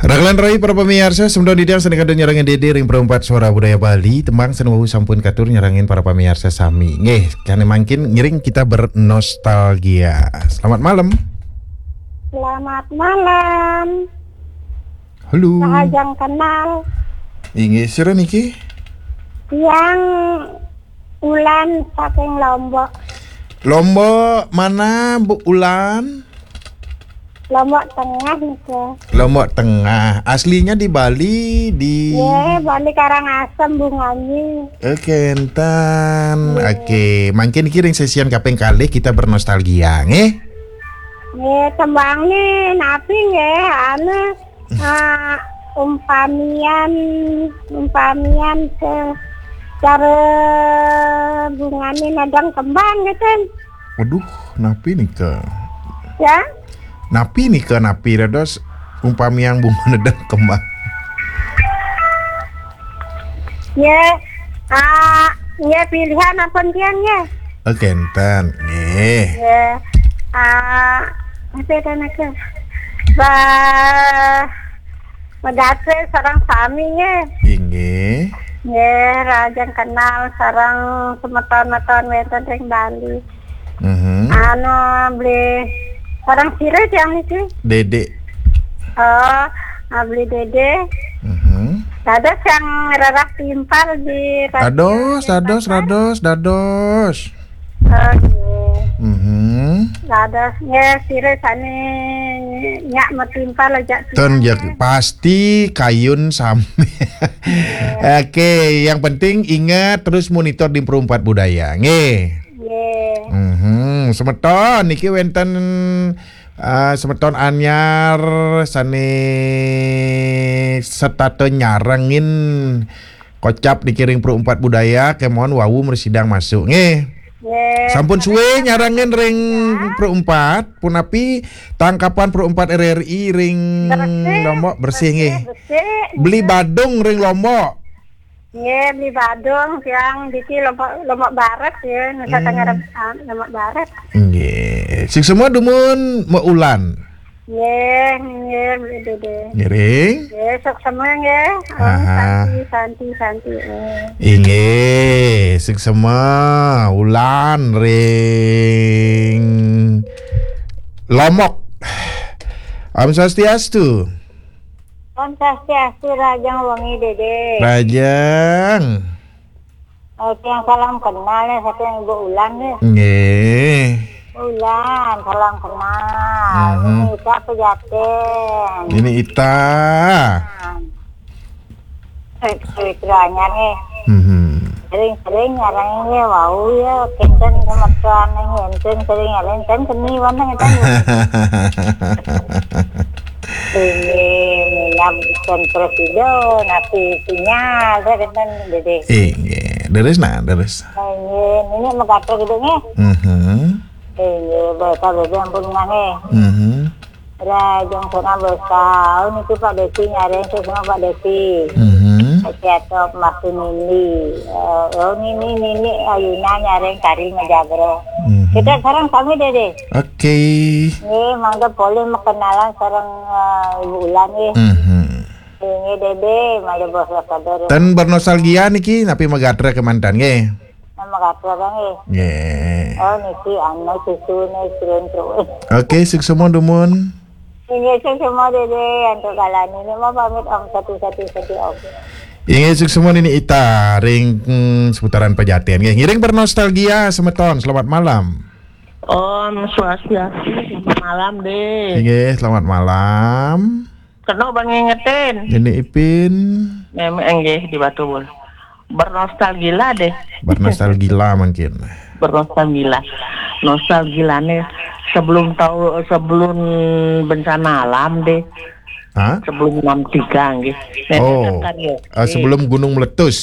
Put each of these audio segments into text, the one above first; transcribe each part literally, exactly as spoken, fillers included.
Raglan rai para pamiarsa, semeton titiang sané kantun nyarengin Dédé ring Perempat Suara Budaya Bali, tembang sané wau sampun katur nyarengin para pamiarsa sami. Nggih, sané mangkin ngiring kita bernostalgia. Selamat malam. Selamat malam. Halo. Rahajeng kenal. Inggih, sira niki? Tiang Ulan saking Lombok. Lombok mana, Bu Ulan? Lombok Tengah nika. Lombok Tengah. Aslinya di Bali, di Nggih, Bali Karangasem, Bunganying. Oke, enten. Nggih. Oke, mangkin niki ring sesian kaping kalih kita bernostalgia, nggih. Nggih, tembang nih, napi nggih, anu, ah, umpamian, umpamian ke cara bungane nedeng kembang gitu. Waduh, napi nika? Ya? Napi nika, napi dados umpamian bunga nedeng kembang? Ya, ah, ya pilihan apa tiang ya? Oke, enten. Nggih. Ya, ah, apa ya, nika? Ba, Madatre sareng sami nggih. Inggih. Nggih, rahajeng kenal sareng semeton-meton wénten ring Bali. Mhm. Anu, beli sareng sira tiang niki? Dédé. Oh, ah, beli Dédé. Mhm. Dados yang rerah timpal di Dados, dados, dados, dados. Oh, nggih. Mhm. Dados nggih sira sane nyak metimpal aja. Ten ya, pasti kayun sami. Oke, yang penting ingat terus monitor di Perumpat Budaya, nggih. Nggih. Mhm. Semeton niki wenten, eh, semeton anyar sane setata nyarengin kocap niki ring Perumpat Budaya, kemon wau mresidang masuk, nggih. Nggih. Sampun suwe nyarengin ring Perumpat, punapi tangkapan Perumpat R R I ring Lombok bersih, nggih. Bersih. Beli Badung ring Lombok. Nggih, beli Badung, tiang diki Lombok, Lombok Barat ya, Nusa Tenggara, ah, Lombok Barat. Nggih. Sing semua dumun maulan. Nggih, nggih, Bu Dede. Ngiring. Nggih, suksma nggih. Om Aha. Santi, Santi, Santi. Eh. Inggih, suksma ulan ring Lombok. Om Swastiastu. Om Swastiastu, rahajeng wengi, Dede. Rahajeng. Oke, yang salam kenal ya, satu yang Ibu Ulan ya. Nggih. Ulan, salam kenal. Mhm. Ini Ita Pejaten. Ini Ita. Nah. Eh, eh, kiranya nih. Mhm. Sering-sering nyarang ini, wau ya, kinten sama tuan ini, enten sering nyarang, kan seni warna kita. Ini, ini, ya, bukan presido, napi sinyal, saya kan, Dede. Inggih, leres nah, leres. Inggih, ini megato gitu nih. Mhm. Inggih, baik, Dede, ampun, nggih. Mhm. Rahajeng sana bosau, niki Pak Desi nyareng, semua Pak Desi. Mhm. Pak Ciato, Mas Nini. Eh, oh, Nini, Nini, Ayuna nyareng kari ngejabro. Mhm. Kita sareng sami, Dede. Oke. Nggih, mangga polih makenalan sareng, eh, Ibu Ulan, nggih. Mhm. Nggih, Dede, mangga bos kabar. Ten bernostalgia niki, napi magatra kemanten, nggih. Nama kabar, nggih. Nggih. Oh, niki, anu, susu nih, turun terus. Oke, suksma dumun. Nggih, suksma, Dede, antuk kalani. Ini mau pamit, Om, satu, satu, satu, Om. Inggih, suksma Nini Ita ring, mm, seputaran Pejaten. Nggih, ngiring bernostalgia semeton. Selamat malam. Om Swastiastu, selamat malam, Dek. Inggih, selamat malam. Kena bang ngingetin. Nini Ipin. Memang nggih di Batu Bul. Bernostalgia, Dek. Bernostalgia mungkin. Bernostalgia. Nostalgiane sebelum tahu, sebelum bencana alam, Dek. Hah? Sebelum enam tiga, nggih. Nenek Oh, kan karya eh, S D. Sebelum gunung meletus.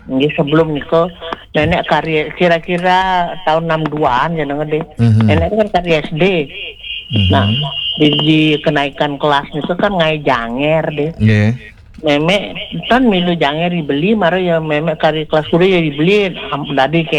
Nggih, sebelum nika nenek karya kira-kira tahun enam duaan ya, nggih, Dek. Mhm. Nenek kan karya S D. Mhm. Nah, di, di kenaikan kelas itu kan ngae janger, Dek. Nggih. Memek ten milu janger dibeli, mara ya memek kari kelas kuda ya dibeli, am-, dadi